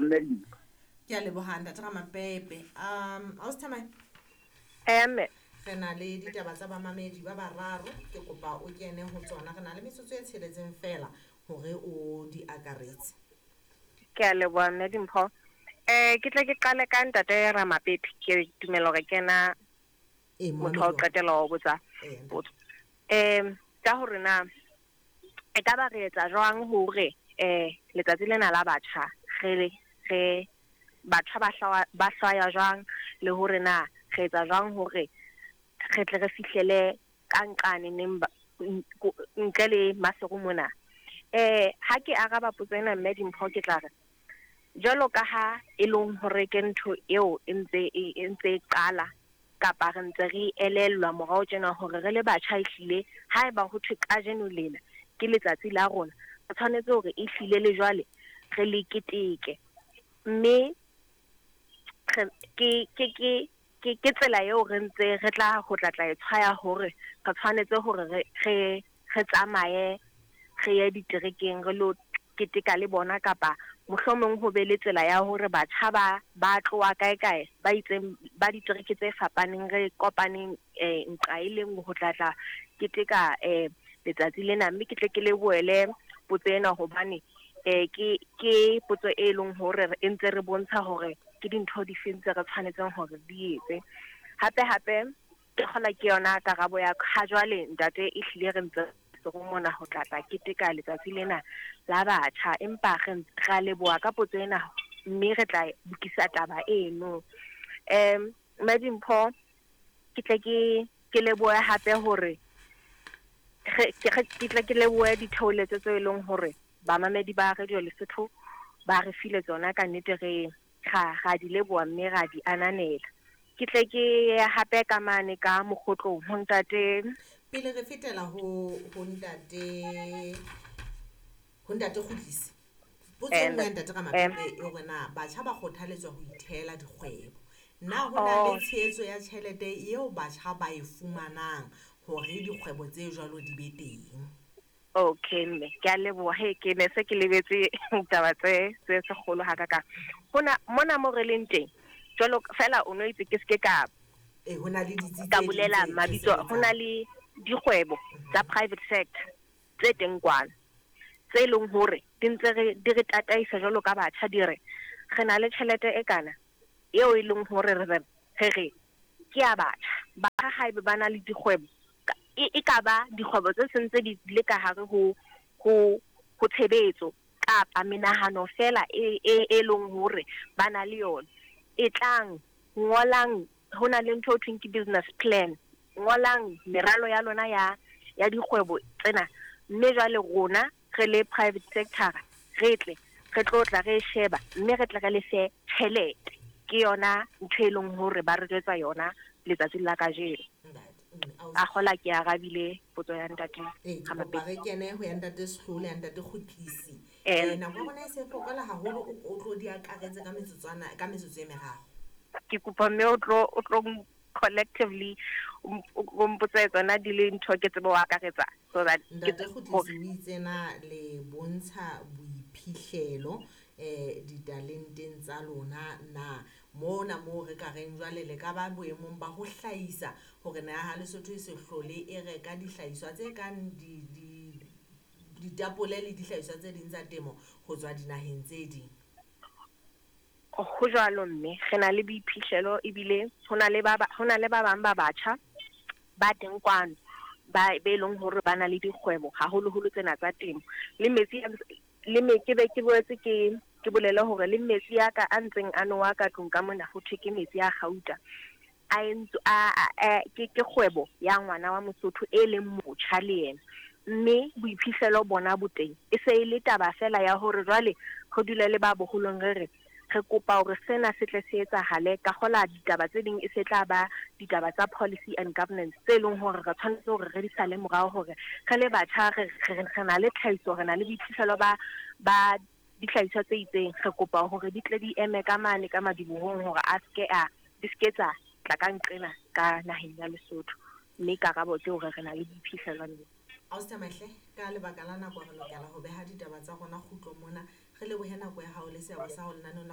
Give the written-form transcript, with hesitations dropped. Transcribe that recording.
Mme Dimpho. Ke a leboha ntate Ramapepe. Ausi Thamae. Mme. Re na le ditaba tsa bamamedi ba bararo, ke kopa o kene ho tsona. Re na le metsotso e tsheletseng feela hore o di akaretse. Ke a leboha mme Dimpho. Ke tle ke qale ka ntate Ramapepe, ke dumela hore ke ena motho wa ho qetela wa ho botsa potso. Ka hore na e ka ba re etsa jwang hore letsatsi lena la batjha re batjha ba hlwaya jwang, le hore na re etsa jwang hore re tle re fihlele ka nqane neng ntle le Maseru mona. Ha ke araba potso ena mme Dimpho, ke tla re jwalo ka ha e leng hore ke ntho eo e ntse e qala kapa re ntse re elellwa morao tjena hore re le batjha ehlile haeba ho thwe kajeno lena ke letsatsi la rona, re tshwanetse hore ehlile le jwale re le keteke. Mme ke tsela eo re ntse re tla ho tla e tshwaya hore re tshwanetse hore re tsamaye re ye diterekeng re lo keteka le bona, kapa mohlomong ho be le tsela ya hore batjha ba tloha kae kae ba itseng ba ditereke tse fapaneng, re kopaneng nqa e le nngwe ho tla keteka letsatsi lena. Mme ke tle ke lebohele potso ena hobane ke potso e leng hore e ntse re bontsha hore ke dintho di feng tse re tshwanetseng hore di etse. Hape hape ke kgola ke yona karabo ya ha jwale ntate, ehlile re ntse re mona ho tla keteka letsatsi lena la batjha, empa re a leboha ka potso ena mme re tla lokisa taba eno. Mme Dimpho, ke tle ke lebohe hape hore ke tle ke lebohe ditheoletso tse e leng hore bamamedi ba Radio Lesotho ba re file tsona, ka nnete re ra di leboha mme ra di ananela. Ke tle ke hape ka mane ka mokgotlong ho ntate. Pele re fetela ho ntate Kgutlisi. Potso e nngwe ya ntate Ramapepe e hore na batjha ba kgothaletswa ho ithehela dikgwebo. Na ho na le tshehetso ya tjhelete eo batjha ba e fumanang hore dikgwebo tse jwalo di be teng? Okay mme, ke a leboha. He, ke ne se ke lebetse taba tse kgolo hakakang. Hona mona mo re leng teng jwalo fela o no itse ke se ka ho na le ditsi ka bolela mabitso, ho na le dikgwebo tsa private sector tse teng kwana tse leng hore di ntse di re tataisa jwalo ka batjha, di re re na le tjhelete e kana eo e leng hore re re ke ya batjha. Batjha haebe ba na le dikgwebo, e ka ba dikgwebo tse sentse di le ka hare ho tshebetso kapa menahano fela e leng hore ba na le yona, e tlang ngolang, ho na le ntho e thweng ke business plan, ngolang meralo ya lona ya dikgwebo tsena, mme jwale rona re le private sector re tle re tlo tla re sheba mme re tle re le fe tjhelete. Ke yona ntho e leng hore ba re jwetsa yona letsatsing la kajeno. A kgola ke arabile potso ya ntate Ramapepe. Re kene ho ya ntate Sehlole, ya ntate Kgutlisi. Nako ya rona e se fokola haholo, o tlo di akaretse ka metsotswana, ka metsotso e meraro. Ke kopa mme o tlo collectively o mpotse tsona di le ntho ke tsebe ho akaretsa, so that ntate Kgutlisi o itse na le bontsha boiphihlelo ditalenteng tsa lona na mona moo re ka reng jwale le ka ba boemong ba ho hlahisa hore naha Lesotho e se hlole e reka dihlahiswa tse kang ditapole le dihlahiswa tse ding tsa temo ho tswa dinaheng tse ding? Ho jwalo mme, re na le boiphihlelo ebile ho na le ba bang ba batjha ba teng kwano ba be leng hore ba na le dikgwebo haholoholo tsena tsa temo. Le metsi le me ke be ke boetse ke bolele hore le metsi a ka a ntseng a nowa ka tlung ka mona ho thwe ke metsi a kgauta, a entswe ke kgwebo ya ngwana wa Mosotho e leng motjha le yena, mme boiphihlelo bona bo teng. E se e le taba fela ya hore jwale re dule le ba boholong re re re kopa hore sena se tle se etsahale. Ka kgola ditaba tse ding e se tla ba ditaba tsa policy and governance tse leng hore re tshwanetse hore re di sale morao, hore re le batjha re na le tlhahiso, re na le boiphihlelo ba dihlahiswa tse itseng, re kopa hore di tle di eme ka mane ka madibohong hore a ske a di ske tsa tla ka nqena ka naheng ya Lesotho. Mme karabo ke hore re na le boiphihlelo mme. Ausi Mahle, ka lebaka la nako re lokela ho beha ditaba tsa rona kgutlo mona. Re lebohe nako ya hao le seabo sa hao lenaneong la